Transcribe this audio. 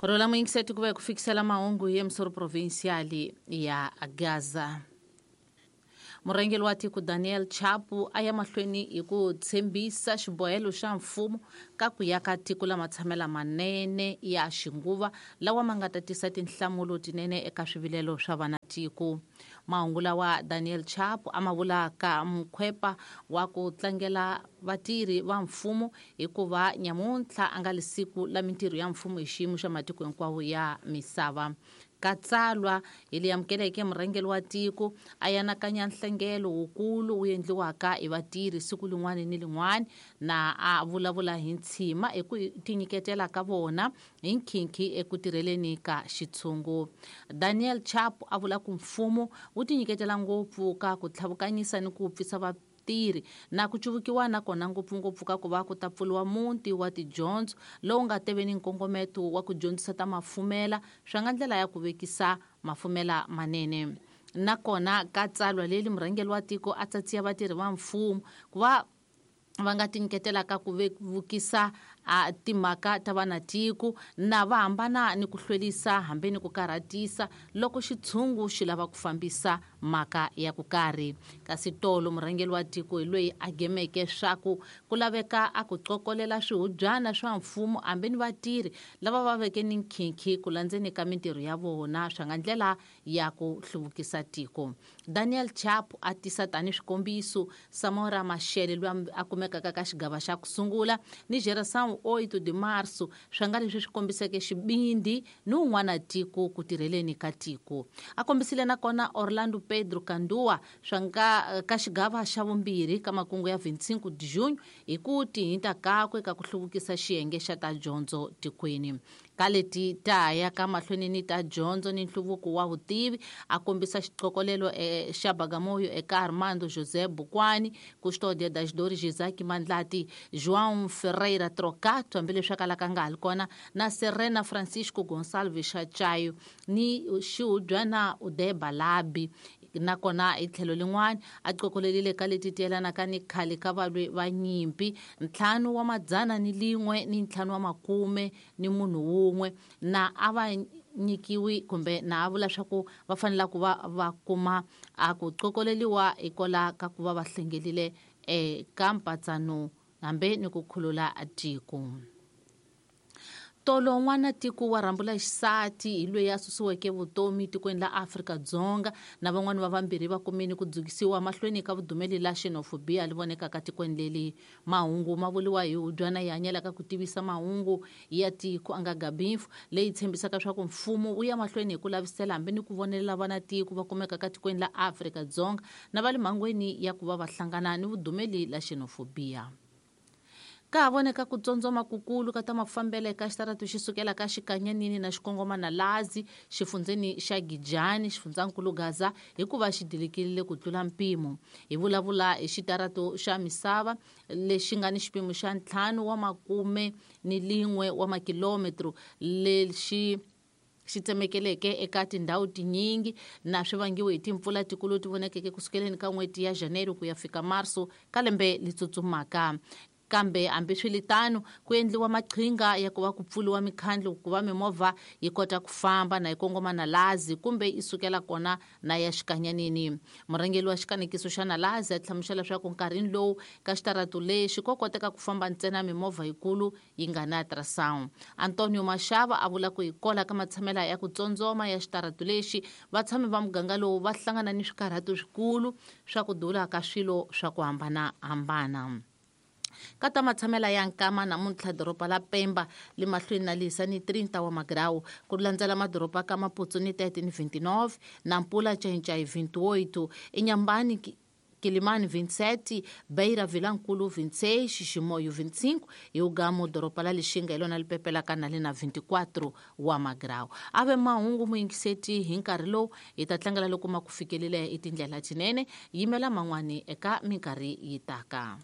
Rola muyingiseti ku va hi ku fikisela mahungu hi emisoro provincial ya Gaza. Murhangeri wa tiko Daniel Chapo a ya mahlweni hi ku tshembisa xibohelo xa mfumo ka ku ya ka tiko la matshamela manene ya xinguva lawa ma nga ta tisa tinhlamulo tinene eka swivilelo swa vana tiko. Mahungu lawa Daniel Chapo a ma vulaka mukhwepa wa ku tlangela vatirhi va mfumo hikuva nyamuntlha a nga li siku la mintirho ya mfumo hi xiyimo xa matiko hinkwawo ya misava. Ka tsalwa hi leyi amukeleke murhangeri wa tiko a yanakanya nhlengelo wukulu wu endliwaka hi vatirhi siku lin'wana ni lin'wana na a vulavula hi ntshima eku tinyiketela ka vona hi nkhinkhi eku tirheleni ka xitshungu. Daniel Chapo a vula ku mfumo wu tinyiketela ngopfu ka ku tlhavukanyisa ni ku pfisa vatirhi na ku cuvukiwa na kona ngopfungopfu ka ku va ku ta pfuriwa muti wa tidyondzo lowu nga teve ni nkongometo wa ku dyondzisa ta mafumela swa nga ndlela ya ku vekisa mafumela manene. Nakona ka tsalwa leri murhangeri wa tiko a tsatsiya vatirhi va mfumo ku va va nga tinyiketelaka ku vevukisa a timhaka ta vanatiko na va hambana ni ku hlwerisa hambi ni ku karhatisa loko xitshungu xi lava ku fambisa mhaka ya ku karhi. Kasi tolo murhangeri wa tiko hi loyi a gemeke swaku ku laveka a ku qokolela swihubyana swa mfumo hambi ni vatirhi lava va veke ni nkhinkhi ku landzeni ka mintirho ya vona swa nga ndlela ya ku hluvukisa tiko. Daniel Chapo a tisa tani swikombiso Samora Machel loyi a kumekaka ka xigava xa ku sungula ni Geração 8 de Março swa nga leswi swi kombiseke xibindi ni un'wana tiko ku tirheleni ka tiko. A kombisile nakona Orlando Pedro Kandua swa nga ka xigava xa vumbirhi ka makungu ya 25 de junho hi ku tihinta kakwe ka ku hluvukisa xiyenge xa ta dyondzo tikweni. Ka leti ta ya ka mahlweni ni ta dyondzo ni nhluvuko wa vutivi a kombisa xiqokolelo xa Bagamoyo eka Armando José Bukwani, Custódia das Dores Isaac Mandlati, João Ferreira Trocato hambileswi a kalaka a nga ha li kona na Serena Francisco Gonçalves Chayo ni xihubyana Udeba Labi. Nakona hi tlhelo lin'wana a qokolelile ka leti tiyelanaka ni khale ka valwi va nyimpi 501 ni 50 ni munhu wun'we na a va nyikiwi kumbe na a vula swa ku va fanela ku va va kuma a ku qokoleliwa hikola ka ku va va hlengelile eka mpatsano hambi ni ku khulula tiko. Tolo n'wana tiko wa rhambula xisati hi loyi a susiweke vutomi tikweni la Afrika-Dzonga na van'wani va vambirhi va kumini ku dzukisiwa mahlweni ka vudumeli la xenofobia li vonekaka tikweni leli. Mahungu ma vuriwa hi hubyana yi hanyelaka ku tivisa mahungu ya tiko a nga Gabinfu leyi tshembisaka swa ku mfumo wu ya mahlweni hi ku lavisela hambi ni ku vonelela vana tiko va kumekaka tikweni la Afrika-Dzonga na va le mhangweni ya ku va va hlangana ni vudumeli la xenofobia. Ka ha voneka ku tsondzoma kukulu ka ta mafambelo eka xitaratu xi sukela ka Xikanyanini na xikongoma na Lazi xifundzeni xa Gijani xifundzankulu Gaza hikuva xi dilikile ku tlula mpimo. Hi vulavula hi xitaratu xa misava lexi nga ni xipimo xa 51 wa makilometro lexi xi tsemekeleke eka tindhawu tinyingi na swi vangiwe hi timpfula tikulu ti vonakeke kusukeleni ka n'hweti ya Janeiro ku ya fika Marso ka lembe li tsutsumaka. Kambe hambiswiritano ku endliwa maqhinga ya ku va ku pfuriwa mikhandlu ku va mimovha yi kota ku famba na yi kongoma na Lazi kumbe yi sukela kona na ya Xikanyanini. Murhangeri wa xikanekiso xa Nalazi a hlamusela leswaku nkarhini lowu ka xitaratu lexi ko koteka ku famba ntsena mimovha yikulu yi nga na ultrasound. Antonio Mashava a vula ku hikola ka matshamela ya ku tsondzoma ya xitaratu lexi vatshami va muganga lowu va hlangana ni swikarhato swikulu swa ku dula ka swilo swa ku hambanahambana. Ka ta matshamela ya nkama namuntlha doroba la Pemba le mahlweni na lisa ni 30 wa magrawu ku landzela madoroba ka Maputo ni 30 ni 29 Nampula Ncayincai 28 Inhambane Quelimane 27 Beira Vilankulu 26 Chimoio 25 hi Ugamo doroba la Lixinga hi lona li pepelaka na le na 24 wa magrawu. A ve mahungu muyingiseti hi nkarhi lowu hi ta tlangela loko ma ku fikelile hi tindlela tinene yimela man'wani eka minkarhi yi taka.